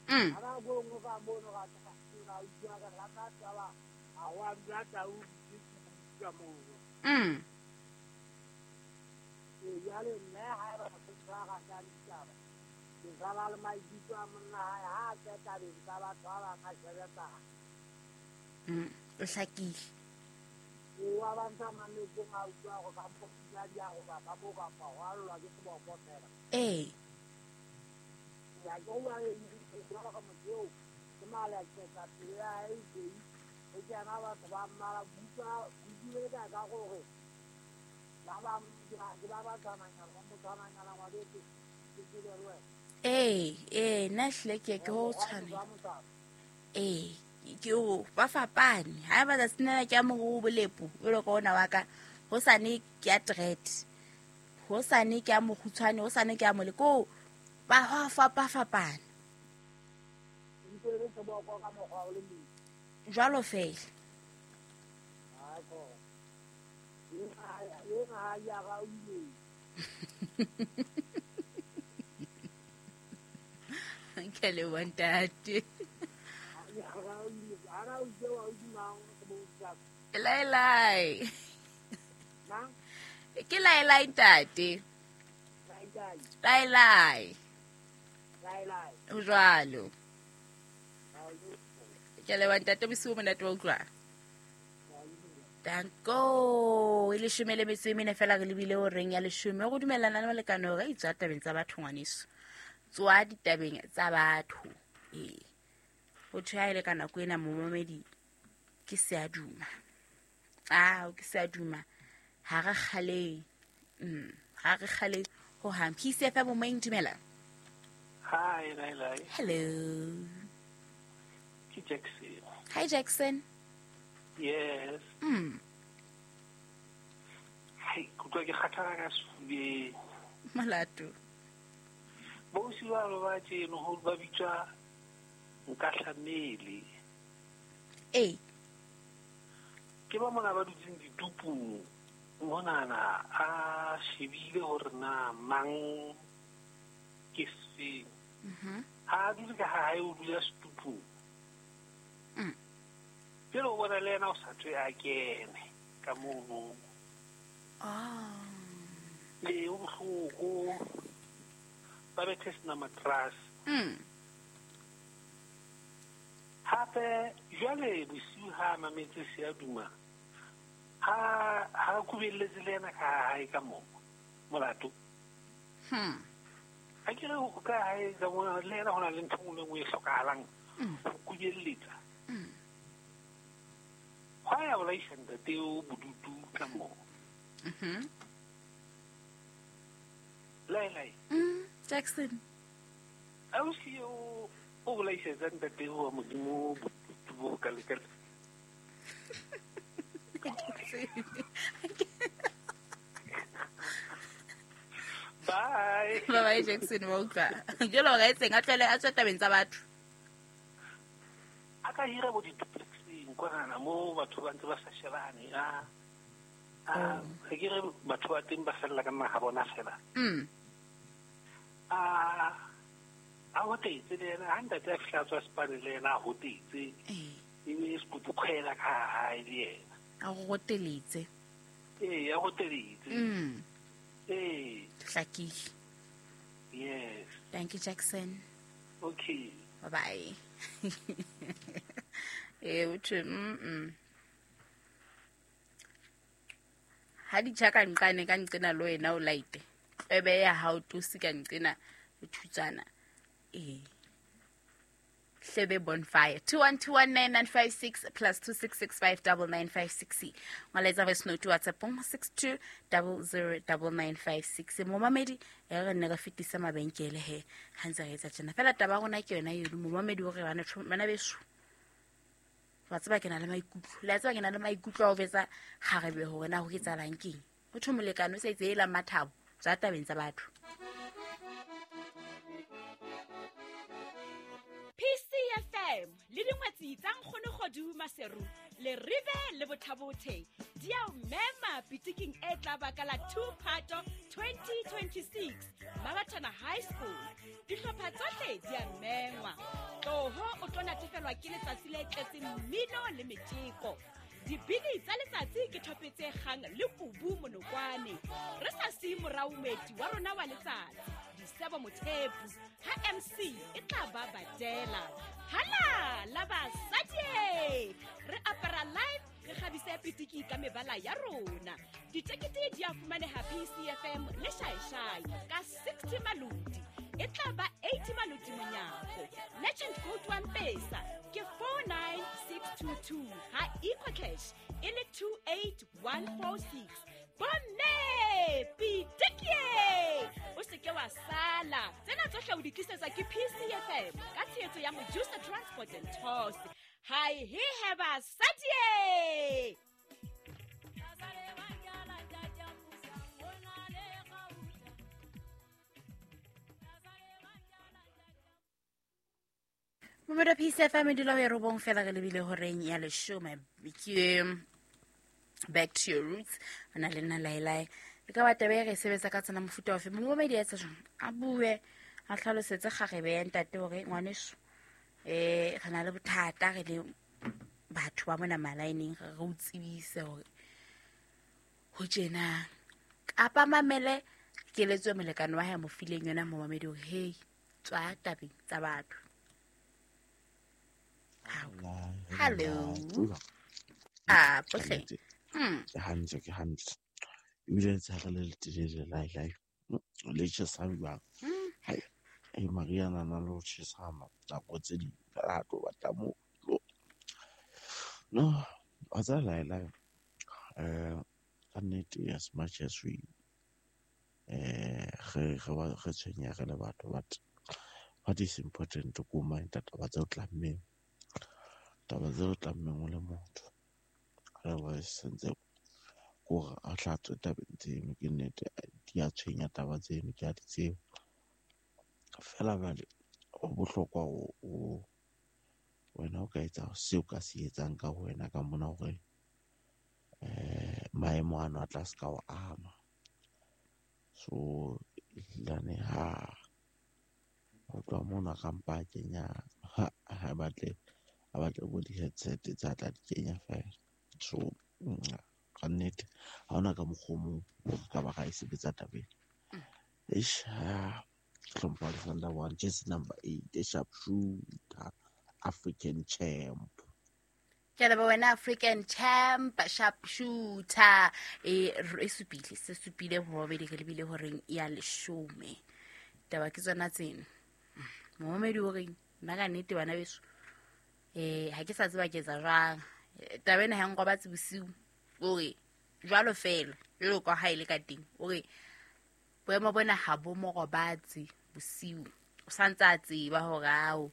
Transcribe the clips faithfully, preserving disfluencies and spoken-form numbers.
Mm. Mm. Mm. O hlakile. Ee. Ee, ee, nna hlile ke ke ho tshwanela. Ee, ke o ba fapane. Ha ba tsatsing lena ke a moruru bolepo, jwalo ka ona wa ka. Hosane ke a dread. Hosane ke a mokgutshwane, hosane ke a mole. Ko ba hwa fapafapana. Jwalo fela. Ke leboha ntate. Laelai. Ke laelai ntate. Laelai. Ho jwalo. Ke leboha ntate, bosiu bo monate wa utlwa. Danko. E leshome le metso e mene fela re lebile horeng ya leshome. Go dumellana le molekane hore a itswa tabeng tsa batho ngwaneso. Tswa ditabeng tsa batho. Ee. Ho thwe ha e le ka nako ena momamedi ke se a duma. Ah, ke se a duma. Ha re kgaleng. Mm, ha re kgaleng ho hang. P C F M moyeng, dumela. Hi, Laila. Hello. Ke Jackson. Hi Jackson. Yes. Mm. Hai, kutlwa ke kgathala ka sefubeng. Molato. Bosi ba ba tjeno ho ba bitswa Nkahlamele. Ee. Ke ba mona ba dutseng ditupung monana a shebile hore na mang ke sefeng. Mhm. Ha dule ka hae o dula setupung. Mm. Pele o bona le yena o sa tswe a kene ka mono. Ah. Le o bohloko. Ba bethe sena mattress. Mm. Hape jwale bosiu ha mametse se a duma. Ha ha kubelletse le yena ka hae ka moo. Molato. Hmm. Ha ke re o ka hae ka mo le yena hona le ntho e nngwe e hlokahalang. Mm. Ho kubelletsa. Mm. Hwa ya bolaisa ntate o bodutu ka moo. Mhm. Lai lai. Mm, Jackson. Ausi o o bolaisetsa ntate wa Modimo bodutu bo ka le ka. Bye. Bye bye Jackson wa utlwa. Jwalo ka etseng a tlwele a tswe tabeng tsa batho. A ka hira bo di-duplexeng kwanana mo batho ba ntse ba sa shebane. A a re ke re batho ba teng ba fella ka naha bona fela. Mm. A a hotetse le yena ha ntate a fihla a tswa sepane le yena a hotetse. Ee. E be sekutu kgwela ka hae le yena. A hoteletse. Ee, a hoteletse. Mm. Ee. Hlakile. Yes. Thank you Jackson. Okay. Bye bye. Eh uthi mm. Ha di tjha ka nqane ka nqena le wena o laite. Ebe ya ha o tosi ka nqena thutsana. Eh. Hlebe bonfire two one two one nine nine five six plus two six six five double nine five six. Ngwaletsa voice note WhatsApp six two double zero double nine five six. Momamedi e re nne re fetisa mabenkele he ha ntse re etsa tjena. Fela taba rona ke yona eno momamedi o re bana bana beso. Wa tseba ke na le maikutlo. Le a tseba ke na le maikutlo a ho betsa kgarebe hore na ho etsahalang keng. Ho thwe molekane o sa itse ela mathabo tsa tabeng tsa batho. P C F M le dingwetsi tsa Nkgono Kgodu Maseru le Rive le Bothabothe di a o mema pitiking e tla baka la two Phato twenty twenty-six Maratana High School. Dihlopha tsohle di a mengwa. Tloho o tlo natefelwa ke letsatsi le tletseng mmino le metjeko. Dibini tsa letsatsi ke thope tse kgang le kubu monokwane. Re sa siye morao moeti wa rona wa letsatsi, Disebo Mothepu, ha M C e tla ba badela. Hala la basadi! Re apara live, re kgabise pitiki ka mebala ya rona. Ditekete di a fumaneha P C F M le Shaeshai ka sixty maloti. E tla ba eighty maloti monyako. Legend code wa Mpesa ke four nine six two two, ha EcoCash e le two eight one four six. Bomme pitiki! O se ke wa sala. Tsena tsohle o di tlisetswa ke P C F M ka tshehetso ya Mojusa Transport and Tours. Hi he he basadi! Momeda P C F M e dula ho ya robong fela re lebile horeng ya leshome. Ke back to your roots. O na le nna Laelae. Le ka ba taba e re sebetsa ka tsena mofuta ofe. Momedi a etsa jwang? A bue, a hlalosetse kgarebe ya ntate hore ngwaneso eh re na le bothata re le batho ba mona malaeneng, re re o tsebise hore ho tjena. Kapa mamele keletso e molekane wa hae mo fileng yona momamedi hore hey, tswa tabeng tsa batho. Hello. Ah, pohle. Hmm. Ke hantle, ke hantle. Ebile letsatsi le letelele Laelae. Le tjhesa jwang? Hai, e Mariana na le ho tjhesa nako tse ding fela ha tlo batla moo. No, wa tseba Laelae, eh ka nnete as much as we eh re re re tshwenyeha re le batho, but what is important ko mind taba tse o tlammeng. Taba tse o tlammeng o le motho. Otherwise sentse kore a hlatswe tabeng tseno, ke nnete di a tshwenya taba tseno, ke a di tseba. Fela jwale ho bohlokwa o wena o ka etsa seo ka se etsang ka wena ka mona hore eh maemo ano a tla se ka o ama. So ehlilane ha ho tloha mona ka mpa a kenya ha batle a batle bo di-headset tsa tla di kenya fela. So ka nnete ha hona ka mokgwa o mong ka ba ga e sebetsa tabeng. Eish, hlompha Alexander one, jersey number eight, the sharpshooter, African champ. Ke leboha wena African champ, sharpshooter. E e supile, se supile ho babedi re lebile horeng ya leshome. Taba ke tsona tseno. Momamedi o reng nna ka nnete bana beso eh ha ke sa tseba ke etsa jwang. Taba ena ha nrobatse bosiu. O re jwalo fela jwalo ka ha ile ka teng. O re boemo bona ha bo mo robatse bosiu. O santse a tseba hore ao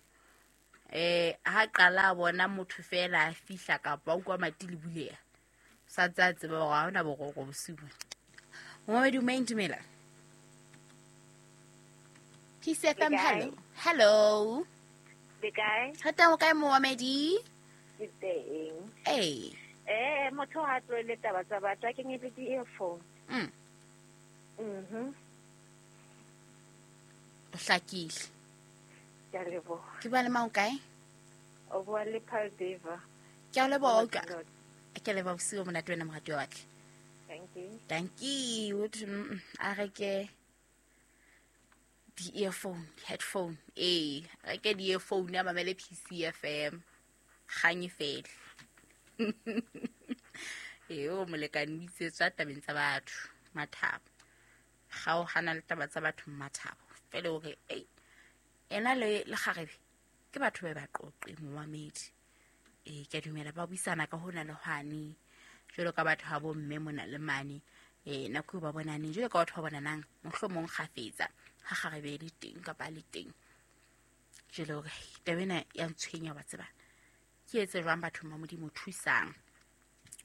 eh ha qala bona motho fela a fihla kapa o kwa mati le buleha. O santse a tseba hore ha hona boroko bosiu. Momamedi o maintumela. P C F M, hello. Hello. Le kae? Re teng o kae momamedi? Ke teng. Eh. Eh, motho ha tlohele taba tsa batho, a kenye le di-earphone. Mm. Mhm. O hlakile. Ke a leboha. Ke bua le mang o kae? O bua le Paul Deva. Ke a leboha ka. Ke a leboha bosiu bo monate wena moratuwa wa ka. Thank you. Thank you. A reke di-earphone, di-headphone. Eh, reke di-earphone a mamele P C F M. Kgang e fele. Eh, o molekane o itse tswa tabeng tsa batho, Mathabo. Kgaohana le taba tsa batho, Mathabo. Fele o re, ei, ena le le kgarebe ke batho ba ba qoqe momamedi. Eh, ke a dumela ba buisana ka hona le hwane. Jwalo ka batho ha bo mme mona le mane. Eh, nako eo ba bonaneng jwalo ka batho ba bonanang mohlomong kgafetsa ha kgarebe e le teng kapa le teng. Jwale hore taba ena ya ntshwenya wa tseba. Ke etse jwang batho ba Modimo thusang.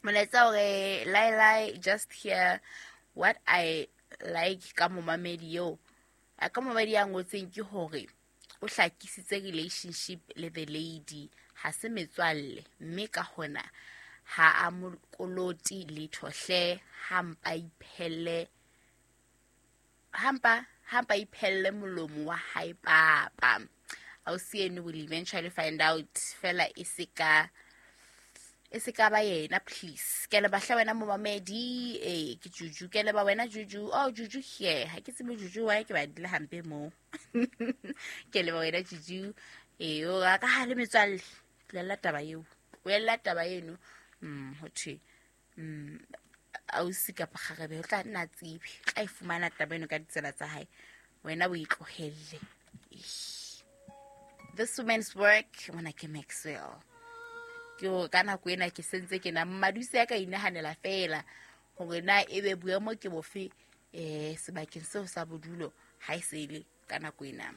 Molaetsa hore Laelae just hear what I like ka momamedi eo. A ka momamedi ya ngotseng ke hore o hlakisitse relationship le the lady ha se metswalle mme ka hona ha a mo koloti letho hle, ha mpa iphelle hampa Hampa iphelle molomo wa hae papa. Ausi eno will eventually find out fela e se ka e se ka ba yena please. Ke le bahla wena momamedi eh ke Juju ke le ba wena Juju. Oh Juju here. Ha ke tsebe Juju wa ke ba dile hampe mo. Ke le ba wena Juju. Eh o ka ha le metswalle. Tlela taba eo. Wela taba eno. Mm ho thwe. Mm ausi kapa kgarebe o tla nna tsebe. Tla e fumana taba eno ka ditsela tsa hae. Wena o itlohelle. This woman's work mona ke Maxwell. Ke hore ka nako ena ke sentse ke na mmaduse ya ka inahanela fela hore na ebe boemo ke bofe eh sebakeng seo sa bodulo ha e sele ka nako ena.